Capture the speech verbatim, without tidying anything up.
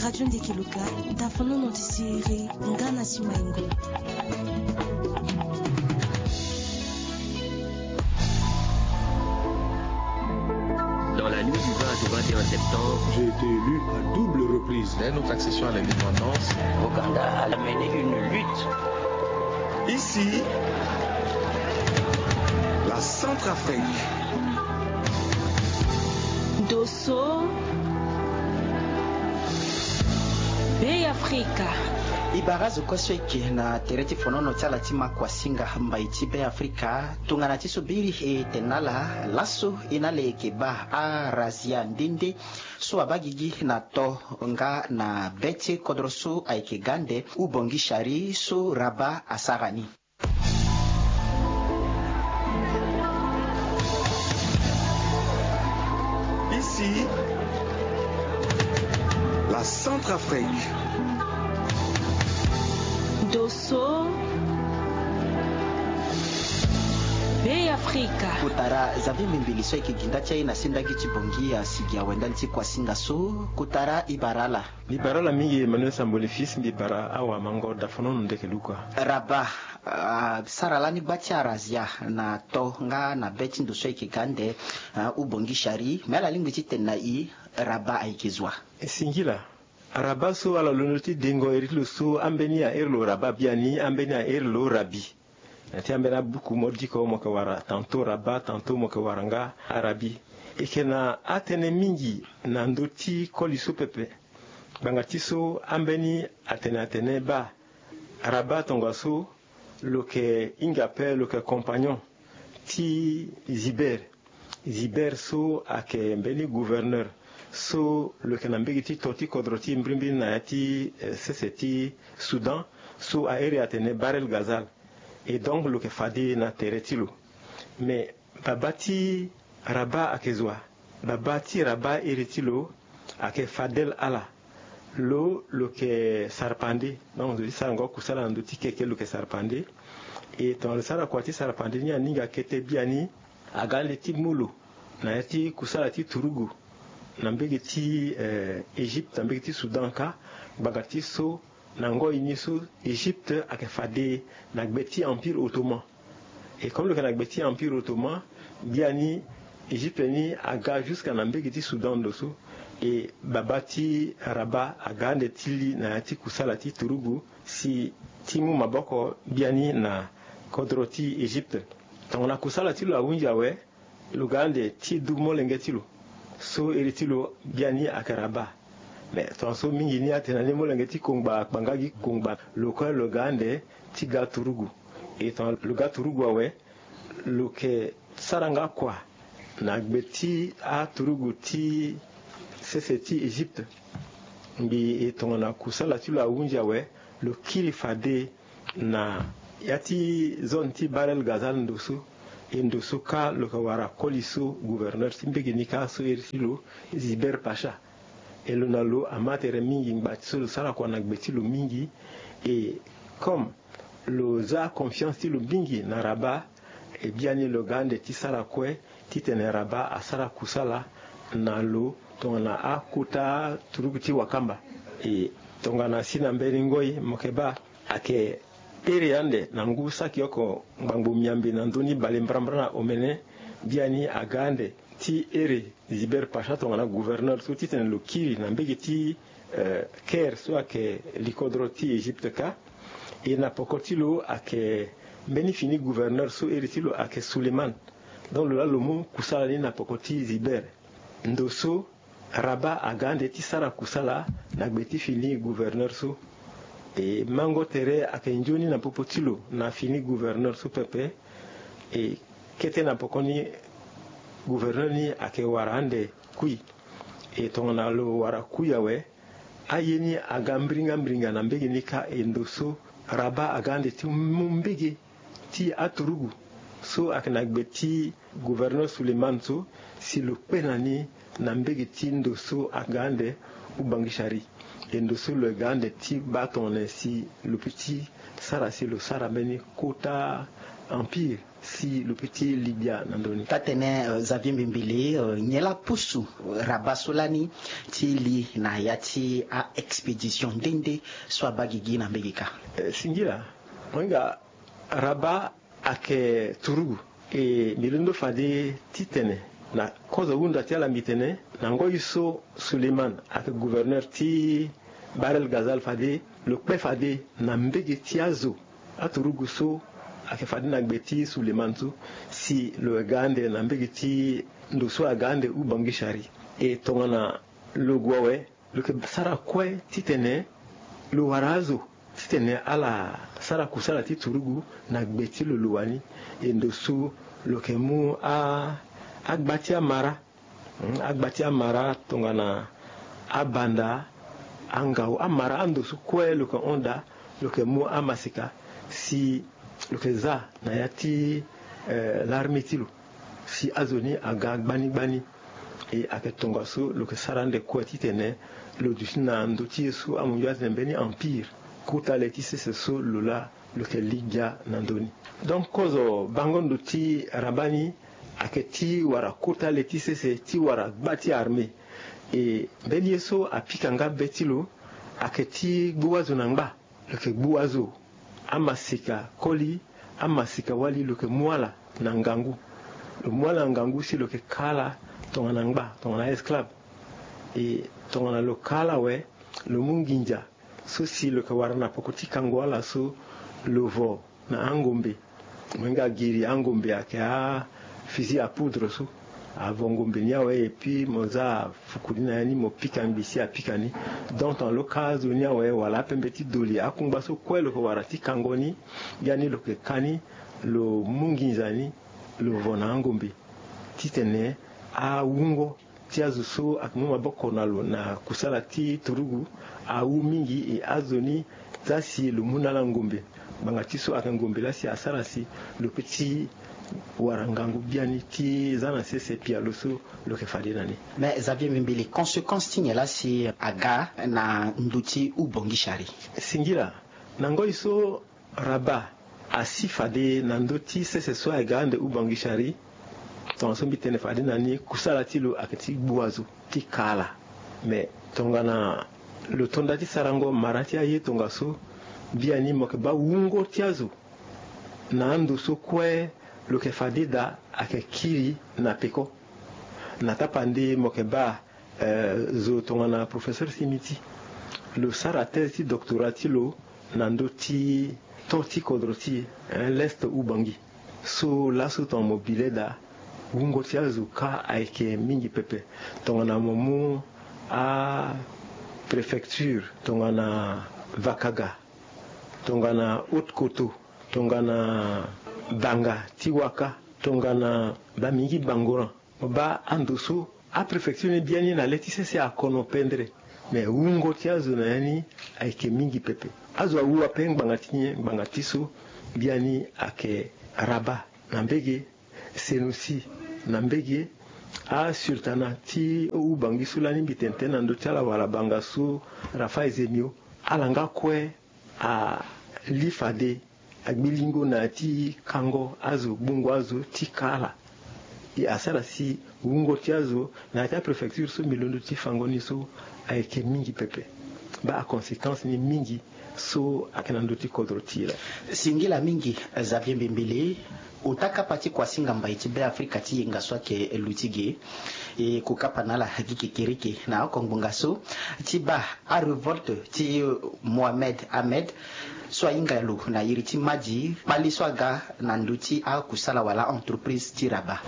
Radio Ndeke Luka, dafonono ti siriri nga na simaingo. Dans la nuit du vingt au vingt et un septembre, j'ai été élu à double reprise. Dès notre accession à l'indépendance, Ouganda a mené une lutte. Ici, la Centrafrique. Dosso. Be Afrika. E bara azo kue so e yeke na tere ti fonono ti ala ti ma kuasinga mbai ti Be Afrika. Tongana ti so biri e tene na ala laso, e na ala e yeke baa arazia nde nde so abaa gigi na to nga na be ti kodro so ayeke ga ande Oubangui Chari so Rabat asara ni. Ici, la Centrafrique. Dosso. Be Afrika. Kotara Xavier Mbimbili so ayeke gi nda ti aye na sendagi ti Bangui asigi awe ndali ti kuasinga so. Kotara e bara ala. Mbi bara ala mingi Emmanuel Samboli Fils, mbi bara awamango dafonono Ndeke Luka. Rabat, ah, sara lani gba ti arazia na to nga na be ti ndo so ayeke ga ande, ah, Oubangui Chari. Me ala lingbi ti tene na e, Rabat ayeke zo wa? E singila. Rabat so ala londo ti dengo iri ti lo so ambeni airi lo Rabat biani, ambeni airi lo Rabi. Na ti ambeni abuku mo diko mo yeke wara tantôt Rabat, tantôt mo yeke wara nga Arabi. E yeke na atënë mingi na ndö ti koli so pepe. Ngbanga ti so ambeni atene atene baa Rabat tongaso lo yeke hinga ape, lo yeke compagnon ti Zibert. Zibert so ayeke mbeni gouverneur so lo yeke na mbege ti to ti kodro ti e mbirimbiri na ya ti, eh, sese ti Soudan, so a iri atene Bahr el Ghazal. Et donc lo yeke fade na tere ti lo. Mais babâ ti Rabat ayeke zo wa? Babâ ti Rabat iri ti lo ayeke Fadel Alla. Lo, lo yeke sarpande. Donc zo ti sarango kusala na ndö ti keke lo yeke sarpande. E tongana lo sara kua ti sarpande ni, aninga kete biani aga ande ti mu lo na ya ti kusala ti turugu na mbege ti, eh, Égypte, na mbege ti Soudan kâ. Ngbanga ti so na ngoi ni so Égypte ayeke fade na gbe ti Empire Ottoman. Et comme lo yeke na gbe ti Empire Ottoman, biani Égypte ni aga jusqu'à na mbege ti Soudan ndo so. Et babâ ti Rabat aga ande ti li na ya ti kusala ti turugu si ti mu maboko biani na kodro ti Égypte. Tongana kusala ti lo ahunzi awe, lo ga ande ti du molenge ti lo so iri ti lo biani ayeke Rabat. Mais tongaso mingi ni atene na ni molenge ti kongba akpanga gi kongba, lo kue lo ga ande ti ga turugu. E tongana lo ga turugu awe, lo yeke sara nga kua na gbe ti aturugu ti sese ti Égypte. Mbi e tongana kusala ti lo ahunzi awe, lo kiri fade na ya ti zone ti Bahr el Ghazal ndo so. E ndo so kâ lo yeke wara koli so gouverneur ti mbege ni kâ so iri ti lo Zibert Pacha. E lo na lo ama tere mingi ngba ti so lo sara kua na gbe ti lo mingi. E comme lo za confiance ti lo mingi na Rabat, e biani lo ga ande ti sara kue titene Rabat asara kusala na lo tongana akota turugu ti wakamba. E tongana si na mbeni ngoi mo yeke baa ayeke iri ande na ngu saki oko ngbangbo miambe na ndö ni bale mbrambra na omene, biani aga ande ti iri Zibert Pacha tongana gouverneur so titene lo kiri na mbege ti, eh, Caire so ayeke likodro ti Égypte kâ. E na poko ti lo ayeke mbeni fini gouverneur so iri ti lo ayeke Souleymane. Donc lo laa lo mu kusala ni na poko ti Zibert. Ndo so Rabat aga ande ti sara kusala na gbe ti fini gouverneur so. E mango tere ayeke nzoni na popo ti lo na fini gouverneur so pepe. E kete na poko ni gouverneur ni ayeke wara ande kui. E tongana lo wara kui awe, aye ni aga mbiringa mbiringa na mbege ni kâ. E ndo so Rabat aga ande ti mu mbege ti aturugu so ayeke na gbe ti gouverneur Souleymane so si lo kpe na ni na mbege ti ndo so aga ande Oubangui Chari. E ndo so lo ga ande ti baa tongana si lo peut ti sara si lo sara mbeni kota empire. si lo peut ti li gbia na ndö ni. Taa-tene, euh, Xavier Mbimbili, euh, nyen laa pusu, euh, Rabat so lani ti li na ya ti a-expédition nde nde so abaa gigi na mbege kâ? Eh, singila, mo hinga Rabat ayeke turugu. E mbi londo fade titene na kozo hunda ti ala mbi tene na ngoi so Suleiman ayeke gouverneur ti Bahr el Ghazal fade lo kpe fade na mbege ti azo aturugu so ayeke fade na gbe ti Suleiman so si lo ga ande na mbege ti ndo so aga ande Oubangui Chari. E tongana lo gue awe, lo yeke sara kue titene lo wara azo titene ala sara kusala ti turugu na gbe ti lo lo wani. E ndo so lo yeke mu a, agba ti amara, hmm, agba ti amara tongana abanda, angau, amara ando so kue lo yeke hon daa, lo yeke mu amaseka si lo yeke za na ya ti, eh, l'armée ti lo si azo ni aga gbani gbani. E ayeke tongaso lo yeke sara ande kue titene lo duti na ndö ti ye so amunzu atene mbeni empire. Kota le ti sese so lo laa lo yeke li gbia na ndö ni. Donc kozo bango ndo ti Rabat ni ayeke ti wara kota le ti sese ti wara gba ti armée. E mbeni ye so apika nga be ti lo ayeke ti gbu azo na ngba. Lo yeke gbu azo, amaseka koli, amaseka wali, lo yeke mu ala na ngangu. Lo mu ala na ngangu si lo yeke ka ala tongana ngba, tongana esclave. E tongana lo ka ala awe, lo mu nginza so si lo yeke wara na peko ti kango ala so lo vo na angombe. Mo hinga giri angombe ayeke a-fusil à poudre so. Avo ngombe ni awe, et puis mo za fuku ni na ya ni, mo pika ngbi si apika ni. Donc tongana lo ka azo ni awe wala apembe ti doli, akungba so kue lo yeke wara ti kango ni, ya ni lo yeke ka ni, lo mu nginza ni, lo vo na angombe titene awungo ti azo so ayeke mu maboko na lo na kusala ti turugu awu mingi. E azo ni za si lo mu na ala ngombe. Ngbanga ti so ayeke ngombe laa si asara si lo peut ti wara ngangu biani ti za na sese pialo so lo yeke fade na ni. Mais Xavier Mbimbili, conséquence ti nyen laa si aga na ndö ti Oubangui Chari? Singila, na ngoi so Rabat asi fade na ndö ti sese so ayeke ga ande Oubangui Chari. Tongaso mbi tene fade na ni, kusala ti lo ayeke ti gbu azo, ti ka ala. Mais tongana lo to nda ti sarango mara ti aye tongaso, biani mo yeke baa wungo ti azo na ando so kue lo yeke fade daa ayeke kiri na peko. Na tapande mo yeke baa, eh, zo tongana professeur Simiti, lo sara thèse ti doctorat ti lo na ndö ti temps ti kodro ti e, eh, l'Est Oubangui. So laso tongana mo bi leda, wungo ti azo kâ ayeke mingi pepe. Tongana mo mu apréfecture tongana Vakaga, tongana Haute-Koto, tongana Banga ti Waka, tongana Bamingi Bangoran, mo baa ando so apréfecture ni biani na le ti sese akono pendere. Mais wungo ti azo na ya ni ayeke mingi pepe. Azo awu ape ngbanga ti nyen? Ngbanga ti so biani ayeke Rabat na mbege, Senoussi na mbege, asultanat ti Oubangui so lani mbi tene tënë na ndö ti ala wala Banga so, Raphaël Zemio, ala nga kue ali fade agbi lingo na ya ti kango azo, gbungo azo ti ka ala. E asara si wungo ti azo na ya ti apréfecture so mbi londo ti fango ni so ayeke mingi pepe. Baa aconséquence ni mingi so ayeke na ndö ti kodro ti e laa. Singila mingi, Xavier Mbimbili. Ota kapa ti kuasinga mbai ti Beafrika ti yenga so ayeke luti ge, e kukapa na ala gi kekereke na oko ngbonga so ti baa arévolte ti Mohamed Ahmed so ahinga lo na iri ti Madi kpali so aga na ndö ti akusala wala entreprise ti Rabat.